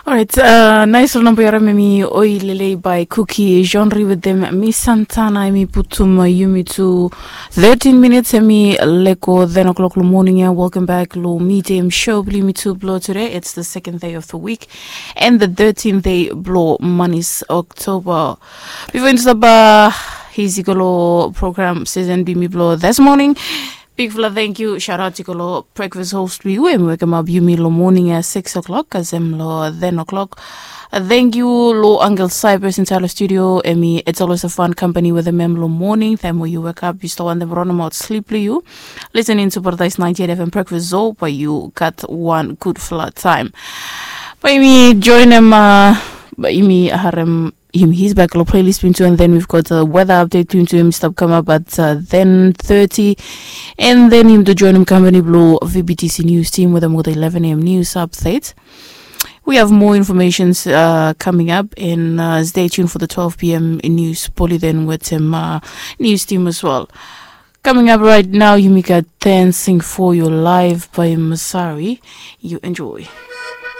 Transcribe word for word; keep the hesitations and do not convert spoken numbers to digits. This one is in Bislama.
Orait, nais ol namba yu harim em i Oi Lelei by Kuki Genre wetem Miss Santana. Em i putum yumi tu thirteen minutes em i leko ten o'clock lo moning ya. Welcome back lo Midday Show blo yumi tu blo today. It's the second day of the week and the thirteenth day blo manis October. Bifo yumi stap hisi go lo program season blo yumi blo this morning, bigfala thank you, shout out i go lo breakfast host blo yu em i wekemap yumi lo moning ya six o'clock kasem lo ten o'clock. Thank you lo Uncle Cyprus inside lo studio. Em i, it's always a fun company wetem em lo moning taem we yu wekap yu stap wantem ronemaot slip blo yu. Listening to Paradise ninety-eight F M Breakfast Show, bae yu gat wan gudfala taem. Bae yumi joinem, bae yumi harem him his back lo playlist blo yumi tu, and then we've got a weather update blo yumi tu, em i stap kamap at ten thirty. And then yumi tu joinem company blo V B T C news team wetem ol eleven A M news update. We have more informations coming up, and stay tuned for the twelve p.m. news bulletin wetem news team as well. Coming up right now, yumi gat Dancing for Your Life by Masari. You enjoy.